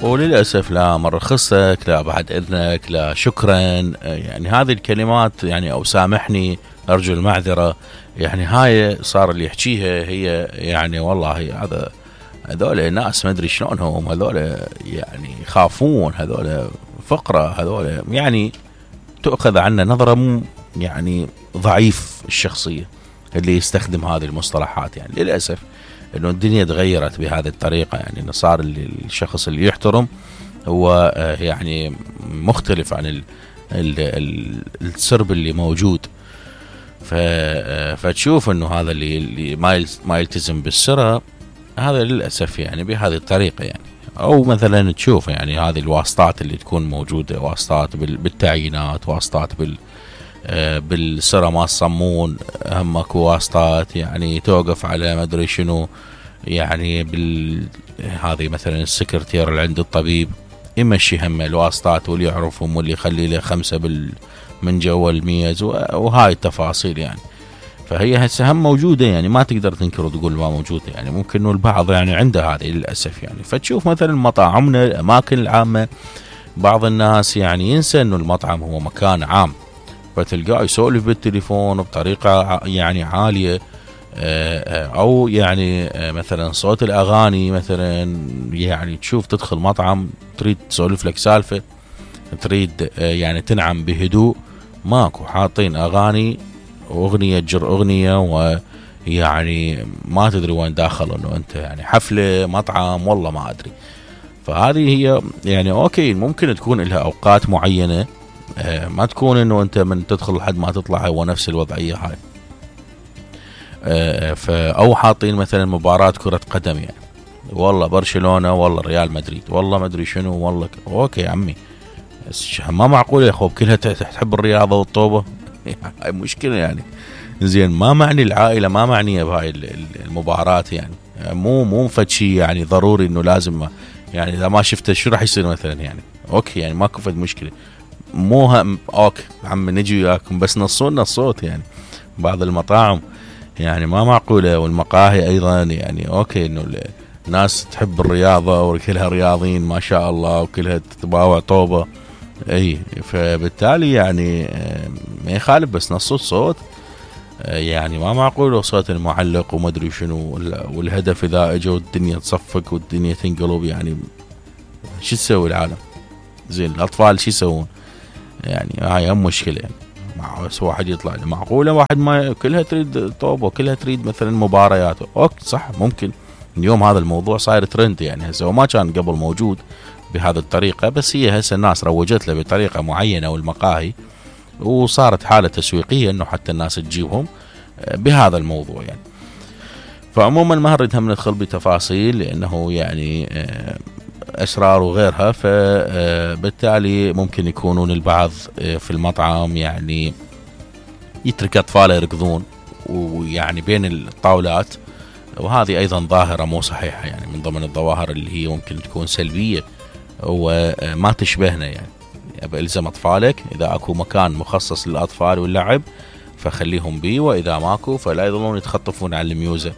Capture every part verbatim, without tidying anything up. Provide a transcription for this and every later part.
وللأسف لا من رخصتك، لا بعد إذنك، لا شكرا، يعني هذه الكلمات يعني أو سامحني، أرجو المعذرة، يعني هاي صار اللي يحكيها هي يعني والله هذا هذول ناس ما أدري شلونهم، هذول يعني يخافون، هذول فقرة، هذول يعني تؤخذ عنا نظرة مو يعني ضعيف الشخصية اللي يستخدم هذه المصطلحات. يعني للأسف إنه الدنيا تغيرت بهذه الطريقة، يعني إنه صار اللي الشخص اللي يحترم هو يعني مختلف عن ال ال ال السرب اللي موجود. فتشوف إنه هذا اللي, اللي ما ما يلتزم بالسرة هذا للأسف يعني بهذه الطريقة. يعني أو مثلا تشوف يعني هذه الواسطات اللي تكون موجودة، واسطات بالتعيينات، واسطات بال بالسرة ما الصمون، همك واسطات يعني توقف على ما ادري شنو، يعني بال هذه مثلا السكرتير اللي عند الطبيب يمشي هم الواسطات واللي يعرفهم واللي يخلي له خمسة بال من جوا الميز وهاي التفاصيل. يعني فهي هسه هم موجودة، يعني ما تقدر تنكر وتقول ما موجودة، يعني ممكن انه البعض يعني عنده هذه للأسف. يعني فتشوف مثلا مطاعمنا، الأماكن العامة، بعض الناس يعني ينسى انه المطعم هو مكان عام، فتلقاه يسولف بالتليفون بطريقة يعني عالية، او يعني مثلا صوت الاغاني مثلا، يعني تشوف تدخل مطعم تريد تسولف لك سالفة، تريد يعني تنعم بهدوء، ماكو، حاطين اغاني واغنية تجر اغنية، ويعني ما تدري وين داخل، انه انت يعني حفلة مطعم والله ما ادري. فهذه هي يعني اوكي ممكن تكون لها اوقات معينة، ما تكون انه انت من تدخل لحد ما تطلع هو نفس الوضعية هاي. او حاطين مثلا مباراة كرة قدم، يعني والله برشلونة والله ريال مدريد والله ما ادري شنو والله ك... اوكي يا عمي، ما معقول يا اخو كلها تحب الرياضة والطوبة هاي مشكلة. يعني زين ما معني العائلة ما معنية بهاي المباراة، يعني مو مو فد شيء يعني ضروري انه لازم، يعني اذا ما شفته شو راح يصير مثلا، يعني اوكي يعني ماكو فد مشكلة، مو هم اوكي عم نجي وياكم بس نصونا الصوت. يعني بعض المطاعم يعني ما معقولة، والمقاهي ايضا يعني اوكي انه الناس تحب الرياضة وكلها رياضيين ما شاء الله وكلها تتباوع طوبة، اي فبالتالي يعني ما يخالف بس نص الصوت. يعني ما معقول صوت المعلق وما ادري شنو، والهدف اذا اجوا الدنيا تصفق والدنيا تنقلب، يعني شو تسوي العالم؟ زين الاطفال شو يسوون؟ يعني هاي هم مشكلة. يعني مع واحد يطلع معقولة واحد ما كلها تريد طوبة وكلها تريد مثلا مباريات، اوكي صح ممكن اليوم هذا الموضوع صاير ترند، يعني هسه وما كان قبل موجود بهذه الطريقة، بس هي هسه الناس روجت له بطريقة معينة والمقاهي، وصارت حالة تسويقية انه حتى الناس تجيبهم بهذا الموضوع. يعني فعموما ما نريد هم ندخل بتفاصيل لانه يعني اسرار وغيرها، فبالتالي ممكن يكونون البعض في المطعم يعني يترك اطفاله يركضون ويعني بين الطاولات، وهذه ايضا ظاهرة مو صحيحة، يعني من ضمن الظواهر اللي هي ممكن تكون سلبية وما تشبهنا. يعني الزم اطفالك اذا اكو مكان مخصص للاطفال واللعب فخليهم بيه، واذا ماكو فلا يظلون يتخطفون على الميوزة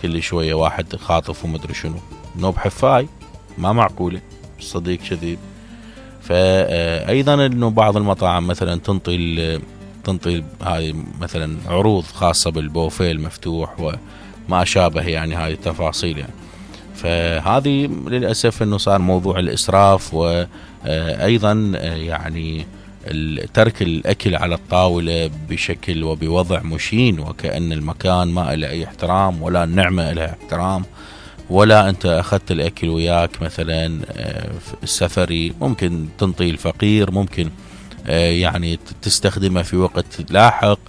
كل شوية واحد خاطف ومدري شنو، نوب حفاي ما معقولة، صديق كذب. فايضا انه بعض المطاعم مثلا تنطي تنطي هاي مثلا عروض خاصة بالبوفيه المفتوح وما شابه، يعني هاي التفاصيل. يعني فهذه للأسف انه صار موضوع الاسراف، وايضا يعني ترك الاكل على الطاولة بشكل وبوضع مشين، وكأن المكان ما له اي احترام ولا النعمة لها احترام، ولا انت اخذت الاكل وياك مثلا في السفري، ممكن تنطي الفقير، ممكن يعني تستخدمه في وقت لاحق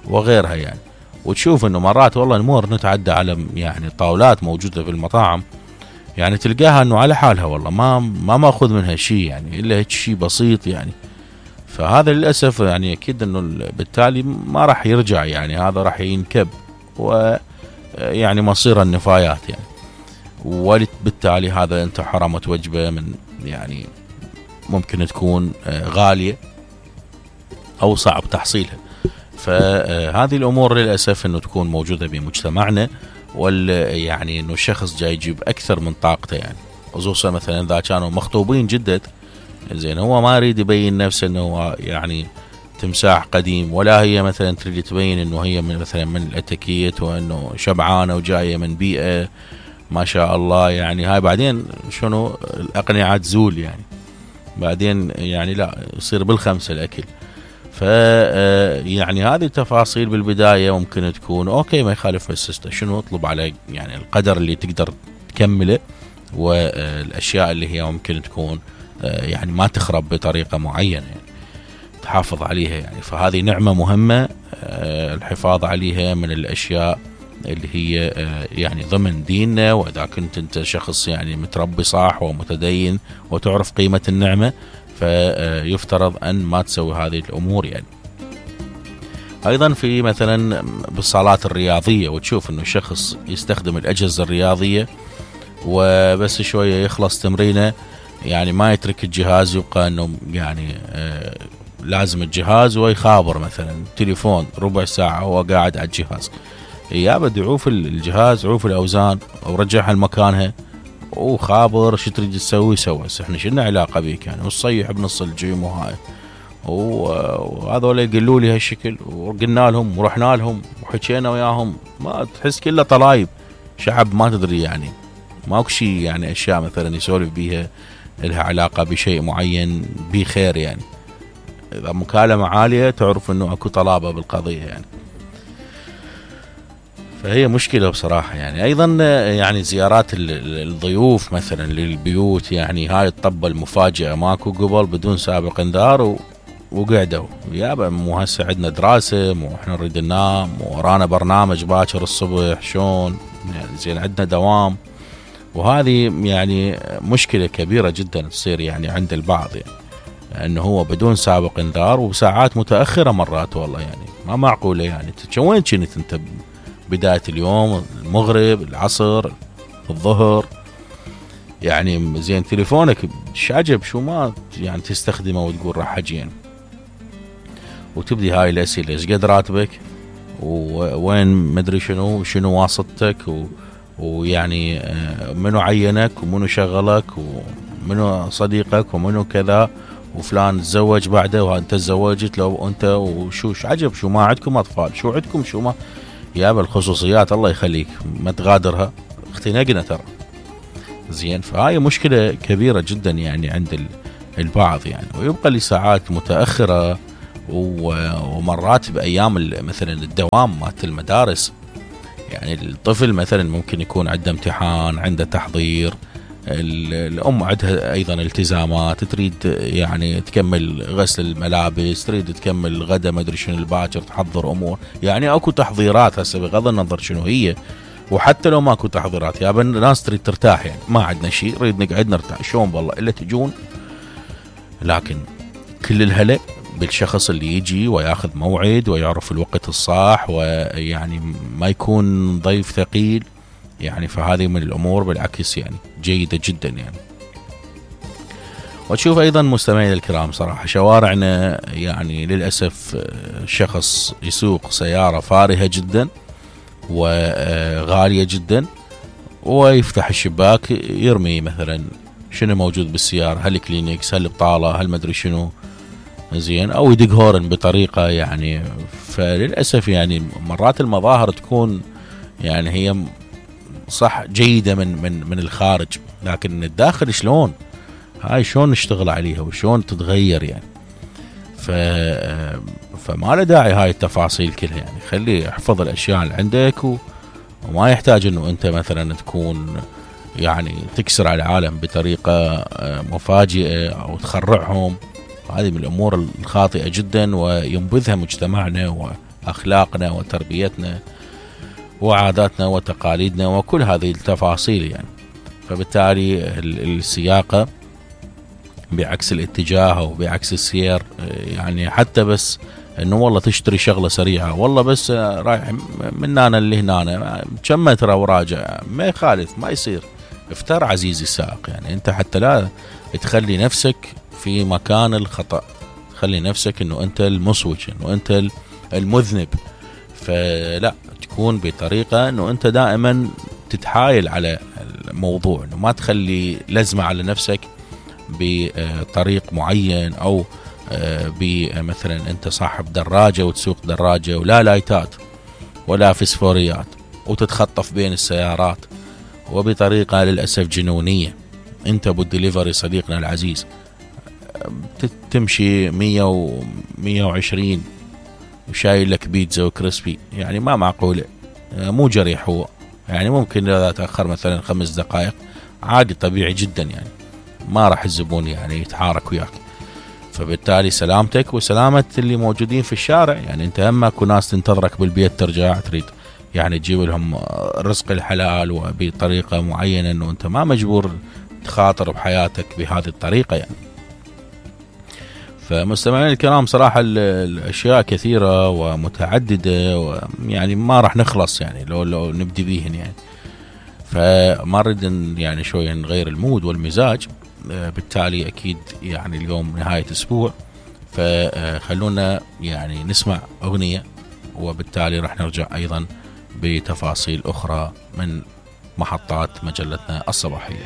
وغيرها. يعني وتشوف انه مرات والله نمر نتعدى على يعني طاولات موجودة في المطاعم، يعني تلقاها انه على حالها والله ما ما ماخذ منها شيء، يعني الا هيك شيء بسيط. يعني فهذا للأسف يعني اكيد انه بالتالي ما راح يرجع، يعني هذا راح ينكب ويعني مصير النفايات. يعني وبالتالي هذا انت حرمت وجبة من يعني ممكن تكون غالية او صعب تحصيلها. فهذه الامور للاسف انه تكون موجودة بمجتمعنا، وال يعني انه الشخص جاي يجيب اكثر من طاقته، يعني خصوصا مثلا اذا كانوا مخطوبين جدد، زين هو ما يريد يبين نفسه انه هو يعني تمساح قديم، ولا هي مثلا تريد تبين انه هي من مثلا من الاتيكيت وانه شبعانه وجايه من بيئه ما شاء الله. يعني هاي بعدين شنو الاقنعه تزول يعني، بعدين يعني لا يصير بالخمسه الاكل. ف يعني هذه التفاصيل بالبدايه ممكن تكون اوكي ما يخالف، بس شنو اطلب على يعني القدر اللي تقدر تكمله، والاشياء اللي هي ممكن تكون يعني ما تخرب بطريقه معينه يعني تحافظ عليها يعني. فهذه نعمه مهمه الحفاظ عليها من الاشياء اللي هي يعني ضمن ديننا. واذا كنت انت شخص يعني متربي صح ومتدين وتعرف قيمه النعمه، فيفترض ان ما تسوي هذه الامور يعني. ايضا في مثلا بالصالات الرياضيه، وتشوف انه شخص يستخدم الاجهزه الرياضيه وبس شويه يخلص تمرينه يعني ما يترك الجهاز، يبقى انه يعني آه لازم الجهاز ويخابر مثلا تليفون ربع ساعه وهو قاعد على الجهاز. يا بدي عوف الجهاز، عوف الاوزان ورجعها لمكانها وخابر شو تريد تسوي سوى. احنا شلنا علاقه بيك يعني، وصيح بنص الجيم وهاي. وهذول يقولوا لي هالشكل، وقلنا لهم ورحنا لهم وحكينا وياهم، ما تحس كله طلايب شعب ما تدري يعني، ماكو شيء يعني اشياء مثلا يسولف بيها لها علاقه بشيء معين بخير يعني. اذا مكالمه عاليه تعرف انه اكو طلابه بالقضيه يعني. فهي مشكله بصراحه يعني. ايضا يعني زيارات الضيوف مثلا للبيوت، يعني هاي الطبه المفاجئه ماكو قبل بدون سابق انذار و وقعدوا يابا مو هسه عندنا دراسه، مو احنا نريد ننام، ورانا برنامج باكر الصبح شلون يعني، زين عندنا دوام. وهذه يعني مشكله كبيره جدا تصير يعني عند البعض يعني، انه هو بدون سابق انذار وبساعات متاخره مرات. والله يعني ما معقوله يعني. وين كنت انت بدايه اليوم؟ المغرب، العصر، الظهر يعني. زين تليفونك ايش عجب شو ما يعني تستخدمه وتقول راح اجي يعني. وتبدي هاي الاسئله، ايش قد راتبك، ووين مدري شنو شنو واسطتك، ويعني منو عينك ومنو شغلك ومنو صديقك ومنو كذا، وفلان تزوج بعده وانت تزوجت لو انت، وشو عجب شو ما عندكم اطفال، شو عندكم شو ما. يا بالخصوصيات الله يخليك ما تغادرها، اختنقنا ترى. زين فهاي مشكله كبيره جدا يعني عند البعض يعني. ويبقى لساعات متاخره، ومرات بايام مثلا الدوام مالت المدارس يعني. الطفل مثلا ممكن يكون عنده امتحان، عنده تحضير، الام عندها ايضا التزامات، تريد يعني تكمل غسل الملابس، تريد تكمل الغداء ما ادري شنو الباكر، تحضر امور يعني. اكو تحضيرات هسه بغض النظر شنو هي. وحتى لو ماكو تحضيرات يا بن الناس تريد ترتاح يعني، ما عندنا شيء نريد نقعد نرتاح. شلون والله الا تجون. لكن كل الهلا بالشخص اللي يجي وياخذ موعد ويعرف الوقت الصح، ويعني ما يكون ضيف ثقيل يعني. فهذه من الامور بالعكس يعني جيده جدا يعني. وتشوف ايضا مستمعينا الكرام صراحه شوارعنا يعني للاسف شخص يسوق سياره فارهه جدا وغاليه جدا، ويفتح الشباك يرمي مثلا شنو موجود بالسياره، هل كلينكس، هل بطاله، هل مدري شنو، زين، او يدق هورن بطريقه يعني. فللاسف يعني مرات المظاهر تكون يعني هي صح جيده من من من الخارج، لكن من الداخل شلون هاي شلون نشتغل عليها وشلون تتغير يعني. ف فما له داعي هاي التفاصيل كلها يعني. خلي احفظ الاشياء اللي عندك، و... وما يحتاج انه انت مثلا تكون يعني تكسر على العالم بطريقه مفاجئه او تخرعهم. هذه من الامور الخاطئه جدا، وينبذها مجتمعنا واخلاقنا وتربيتنا وعاداتنا وتقاليدنا وكل هذه التفاصيل يعني. فبالتالي السياقه بعكس الاتجاه وبعكس السير يعني. حتى بس انه والله تشتري شغله سريعه، والله بس رايح من هنا لهنا كم متر وراجع، ما يخالف، ما يصير. افتر عزيزي السائق يعني. انت حتى لا تخلي نفسك في مكان الخطأ، خلي نفسك انه انت المصوج، انه انت المذنب. فلا تكون بطريقه انه انت دائما تتحايل على الموضوع، انه ما تخلي لزمة على نفسك بطريق معين، او بمثلا انت صاحب دراجة وتسوق دراجة ولا لايتات ولا فسفوريات وتتخطف بين السيارات وبطريقة للأسف جنونية. انت بالدليفري صديقنا العزيز تمشي مية ومية وعشرين وشايل لك بيتزا وكريسبي، يعني ما معقولة، مو جريح هو، يعني ممكن إذا تأخر مثلا خمس دقائق عادي طبيعي جدا، يعني ما راح الزبون يعني يتحارك وياك. فبالتالي سلامتك وسلامة اللي موجودين في الشارع، يعني انت هم اكو ناس تنتظرك بالبيت ترجع تريد يعني تجيب لهم رزق الحلال وبطريقة معينة، انه انت ما مجبور تخاطر بحياتك بهذه الطريقة يعني. فمستمعين الكرام صراحة الأشياء كثيرة ومتعددة، ويعني ما راح نخلص يعني لو لو نبدي بيهن يعني. فما نريد يعني شوية نغير المود والمزاج، بالتالي أكيد يعني اليوم نهاية أسبوع، فخلونا يعني نسمع أغنية، وبالتالي راح نرجع أيضا بتفاصيل أخرى من محطات مجلتنا الصباحية.